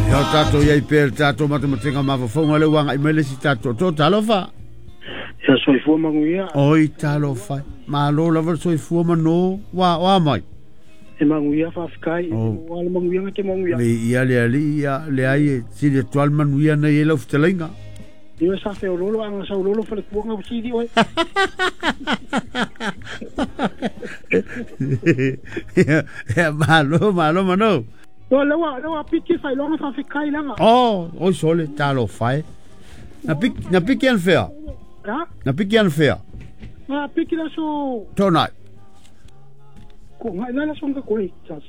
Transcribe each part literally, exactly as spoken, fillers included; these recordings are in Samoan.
Ia o tatou iai pea le tatou matematenga mafaufauga le ua agai mai le isi tatou to talofa. Ia soifua manuia. Oi talofa. Malo lava le soifua mano wa wa mai. E manuia faafetai. Ua le manuia te manuia. Le ia le ali ia le ai e sili atu le manuia nei e lau fetalaiga. Ia sa feololo anga saulolo falekuaga usili oe. Ia malo malo mano. O lewa lewa piki failonga faafetai lava. Oh, oi sole talofa e. Na piki na piki anfea. Ha? Na piki anfea. Na piki la so. Tonai. Ko ngai la so nga ko tas.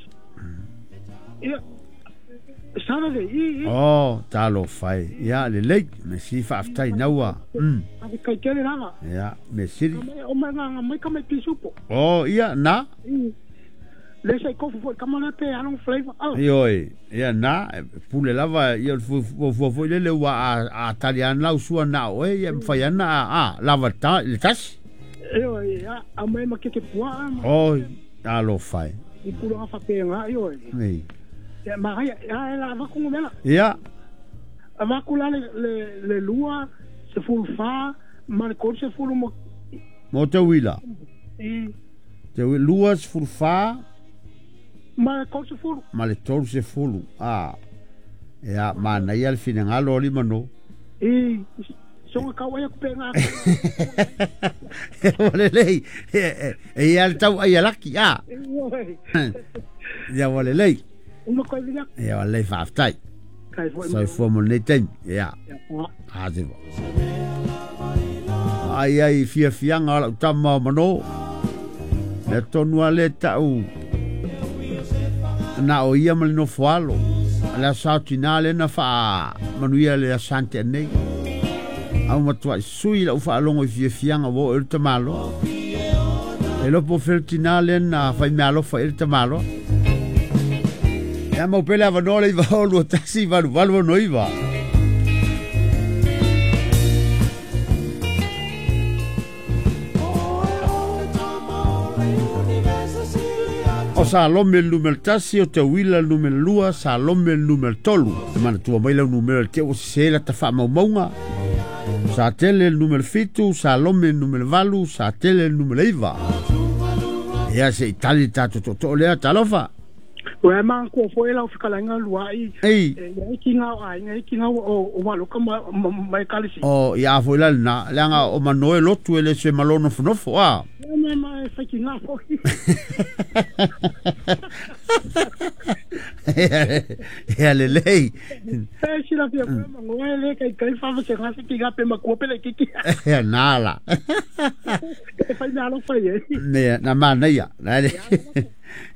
Ia Saturday i. Oh, talofa e. Ia le lei me si faafetai naua. Mm. Ave kai tele lava. Ia me siri. O mai nga mai ka mai pisupo. Oh, ia na. Le sai kofu foi kama pe along flavor. Oh. Ioi, ia na pule lava ia fu fu fu le le ua a talian lau sua na oe ia mfai ana a lava ta le tasi. Ioi, a a mai ma keke pua. Oi, alofa e. I pula fa pe nga ioi. Nei. Ia ma ia la va ku mela. Ia. A va ku la le le lua se fu fa ma le ko se fu mo. Mo te wila. I. Te lua se fu fa ma le tolu sefulu. Ma le tolu sefulu. Ah. Ia mana ia le finagalo o lima no. I songa kau ai ku pe nga. O le lei. E ia le tau ai alaki a. Ia o le lei. Uma koe vila. Ia o le faafetai. Kai foi. Soifua mo lenei taimi. Ia. A te ai ai fiafiaga o lau tama o mano. Le tonu a le tau. Na o ia ma le nofo alo. Le aso tina le na faa manuia le asante nei. Au matua sui lau faalogo i fiafiaga ua oo i le tamaloa. E lopo fele tina le na faimealofa i le tamaloa. Ia mau pele avanoa le iva o lua tasi valu valu ono iva. O Salome le numero tasi, o te wila le numero lua, Salome le numero tolu. E manatua mai lau numero le te o sese la ta faamaumauga. Sa tele le numero fitu, Salome le numero valu, sa tele le numero iva. Ia se itali tatou tootoo lea, talofa. Ua ma ko foi lau fekalaiga luai. Ei. E ki ngā ai ngai ki ngā o o maloka ma mai kalisi. O ia foi la na, leaga o manoe lotu e le se malono fonofo a. Ma ma e fai ki ngā foi. Ia le lei. E si la fia ma ngoe le kai kai fa se ngā se ki ngā pe ma ko pele kiki. Ia nala. E fai na lo fai e. Ne na mana ia. Na le.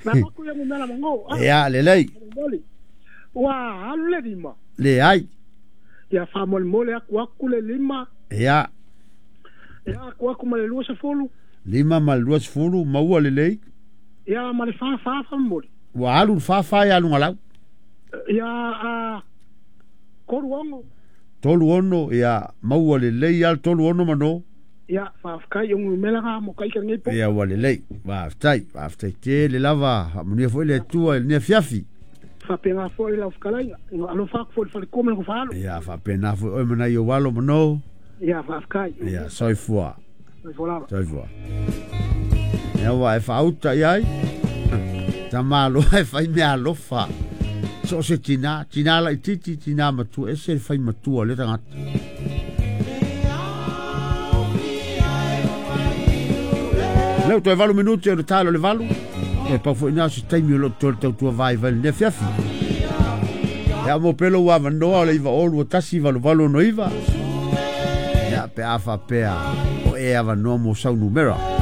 Na maku ia mela mango. Ia le lei. Ua alu le lima. Le ai. Ia faamolemole aku aku le lima. Ia. Ia aku aku ma le lua sefulu. Lima ma le lua sefulu maua le lei. Ia ma le fa fa faamolemole. Ua alu le fa fa ia aluga lau. Ia a tolu ono. Tolu ono ia maua le lei ia le tolu ono mano. Ia faafetai o mela nga mo kai ka nei po. Ia ua lelei. Faafetai, faafetai tele lava. Faamanuia foi le Atua i lenei afiafi. Faapena foi lau fekalaiga. Alofa aku foi le falekua ma le gofaalo. Ia faapena foi oe ma nai ou alo mano. Ia faafetai. Ia soifua. Soifua lava. Soifua. Ia ua e faauta iai. Tamaloa e fai mea alofa. So o se tina, tina laititi, tina matua, ese le fai matua le tagata. Leu toe valu minuti o le talo le valu. E pau foi nā se taimi o lo tole tautua vai vai le fiafi. Ia mo pelo ua avanoa o le iva o lua tasi valu valu ono iva. Ia pe afa pea o e avanoa mo sau numera.